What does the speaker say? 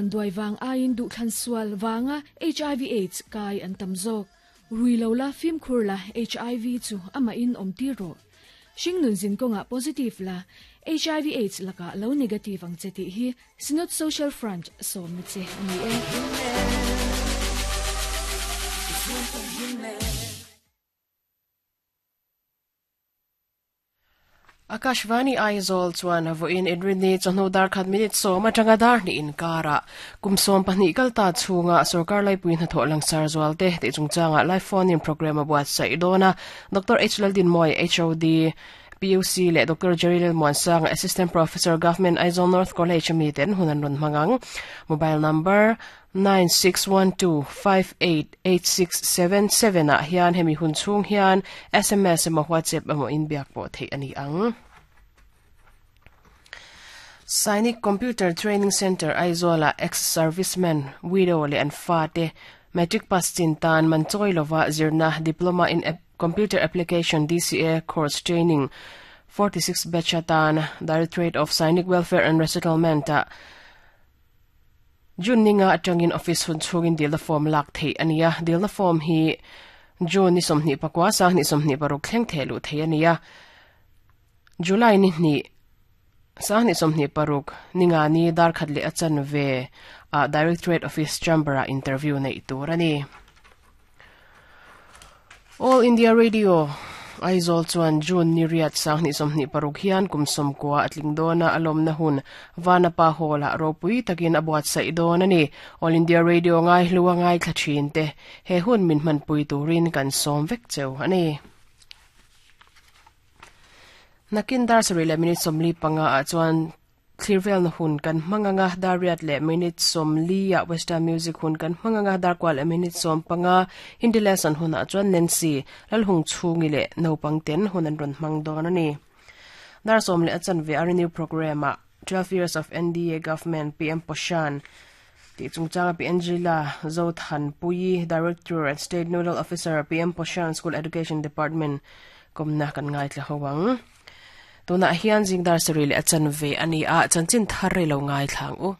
Vanduai vang aiin duhthlan sual vanga hiv aids kai an tam zawk. Rui lo la, fimkhur la, hiv chu amahin awm tir rawh. Hringnun zin kawngah positive la, hiv aids lakah lo negative ang che tih hi Synod Social Front sawmna che a ni e. Akashvani Aizawl chuan vawiin Inrinni chawhnu dar khat minute sawm atanga dar hnih inkarah kum 12 kal ta chhunga sorkar laipui hnathawh langsar zualte tih chungchangah live phone in programme a buatsaih dawn a. Doctor H Laldinmawi, HOD, PUC leh Doctor Jerry Lalmuansanga, Assistant Professor, Government Aizawl North College ami ten hun an rawn hmang ang. Mobile number 9612588677 ah hian hemi hun chhung hian sms emaw WhatsApp emaw inbiak pawh theih a ni ang. Sainik Computer Training Centre Aizawl-ah ex-serviceman, widow leh an fate matric pass chin tan man chawi lova zirna Diploma in Computer Application, DCA, course training 46 batch atan Directorate of Sainik Welfare and Resettlement-ah June ninga atangin office hun chhungin dilna form lak theih a ni a, dilna form hi June ni 29 26 thleng theh luh theih a ni a, July ni hnih 26 ninga ni dar khat leh a chanve ah Directorate Office Chamber ah interview neih tur a ni. All India Radio, Aizawl chuan June ni riat 2026 hian kum 90 a tling dawn a, a lawmna hun Vanapa Hall-ah ropui takin a buatsaih dawn a ni. All India Radio ngaihlu a ngaithla thin te, he hun min hmanpui turin kan sawm vek cheu a ni. Nakin dar sarih leh minute 45 ah chuan Thlir velna hun kan hmang ang a, dar riat leh minute 40 ah Western Music hun kan hmang ang a, dar kual leh minute 15 Hindi Lesson hunah chuan Nancy, Lalhung Chhungi leh naupang ten hun an rawn hmang dawn a ni. Dar sawm leh a chanve a Renew Programme ah 12 Years of NDA Government PM Poshan tih chungchanga Pi Angela Zothanpuii, Director and State Nodal Officer PM Poshan School Education Department kawmna kan ngaithla ho ang. Tunah hian zingdar sarih leh a chanve a ni a, chanchin thar rei lo ngaithla ang u.